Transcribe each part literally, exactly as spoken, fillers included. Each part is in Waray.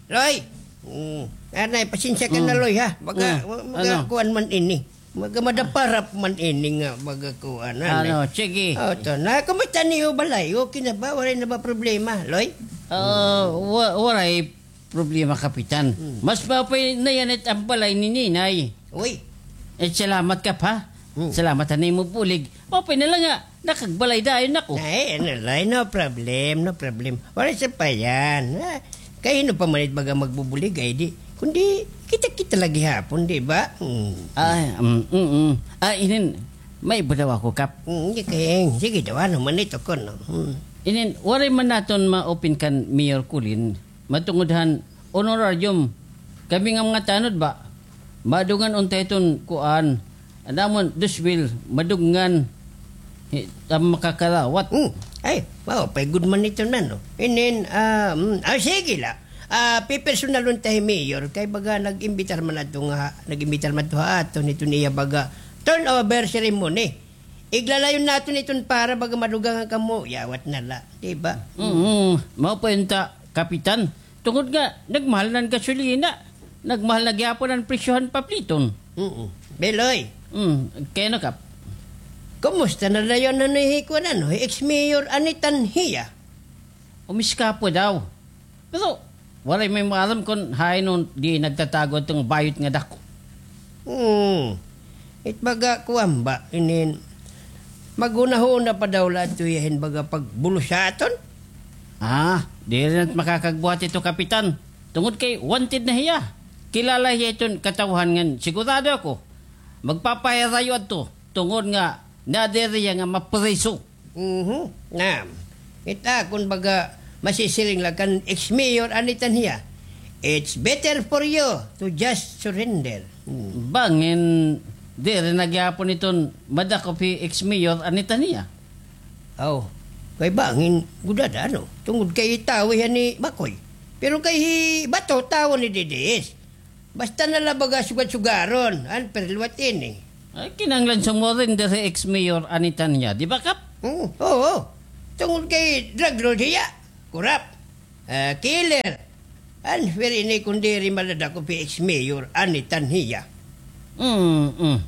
Loy! Mm. Anay, pasensya ka na, Loy, ha? Baga, Mm. ma-, maga Ano? kuan man ini. Maga madaparap man ini nga baga kuan, anay. Ano, sige. O, to na. Kumusta niyo balay? Okay na ba? Waray na ba problema, Loy? Ah, wa-, waray problema, Kapitan. Hmm. Mas maupay na yana it an balay ni Ninay. Uy. Eh, salamat, Kap, ha? Hmm. Salamat han imo bulig. Maupay na la nga nakagbalay dayon ako. Ay, ano la, no problem, no problem. Waray sapayan, ha? Kay hin-o pa man it baga magbubulig, ay di. Kundi, kita-kita la gihapon, di ba? Hmm. Ay, mm, mm, mm. Ah, inin, may iba daw ako, Kap. Hmm, di kay, sige daw, ano man ito kuno? Hmm. Inin, waray man naton ma-open kan Mayor Colin. Matungod han honorarium, kami nga mga tanod ba, madungan unta iton kuan, an amon, dos mil, madungan, hi-, an makakarawat. Hmm. Ay, maupay gud man iton, no? Inin, ah, mm, ah, sige la. Ah, pipersonalon ta hi Mayor, kay baga nag-imbitar man adto nga, nag-imbitar man adto ha aton iton iya baga turnover ceremony. Iglalayon naton iton para baga madugangan kamo, yawat na la, di ba? Mm, maupay unta, Kapitan. Tungod nga, nagmahal na an gasolina. Nagmahal na gihapon an presyo han papliton. Mm. Beloy. Mm, kay ano, Kap? Kumusta na dayon an hi kuan, ano, hi ex-mayor Anitan hiya? Umiskapo daw. Pero, waray may maaram kon hain on di nagtatago adto nga bayot nga dako. Hmm. It baga kuan ba, inin, maghunahuna pa daw la adto hiya hin baga pagbulos ha aton? Ah, diri na it makakagbuhat ito, Kapitan. Tungod kay wanted na hiya. Kilala hiya iton katawhan ngan sigurado ako. Magpapahirayo adto tungod nga nadiri hiya nga mapriso. Mhm. Nga, it akon baga masisiring la kan ex-mayor Anitan hiya, "It's better for you to just surrender." Hmm. Bangin, diri na gihapon iton madakop hi ex-mayor Anitan hiya. Aw, kay bangin gud ada, ano? Tungod kay tawo hiya ni Makoy. Pero kay hi Bato, tawo ni D D S. Basta na la baga sugar-sugaron, an perluwat ini. Ay, kinahanglan sumurrender hi ex-mayor Anitan hiya, di ba, Kap? Oo, oo. Tungod kay drug lord hiya, corrupt, ah, killer. An fair ini kon diri madadakop hi ex-mayor Anitan hiya. Mm, mm.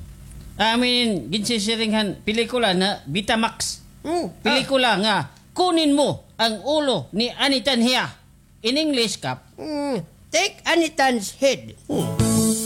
Amin, ginsisiring han pelikula na Betamax. Mm, ah. Pelikula nga, Kunin Mo ang Ulo ni Anitan hiya. In English, Kap? Mm, take Anitan's head. Hmm.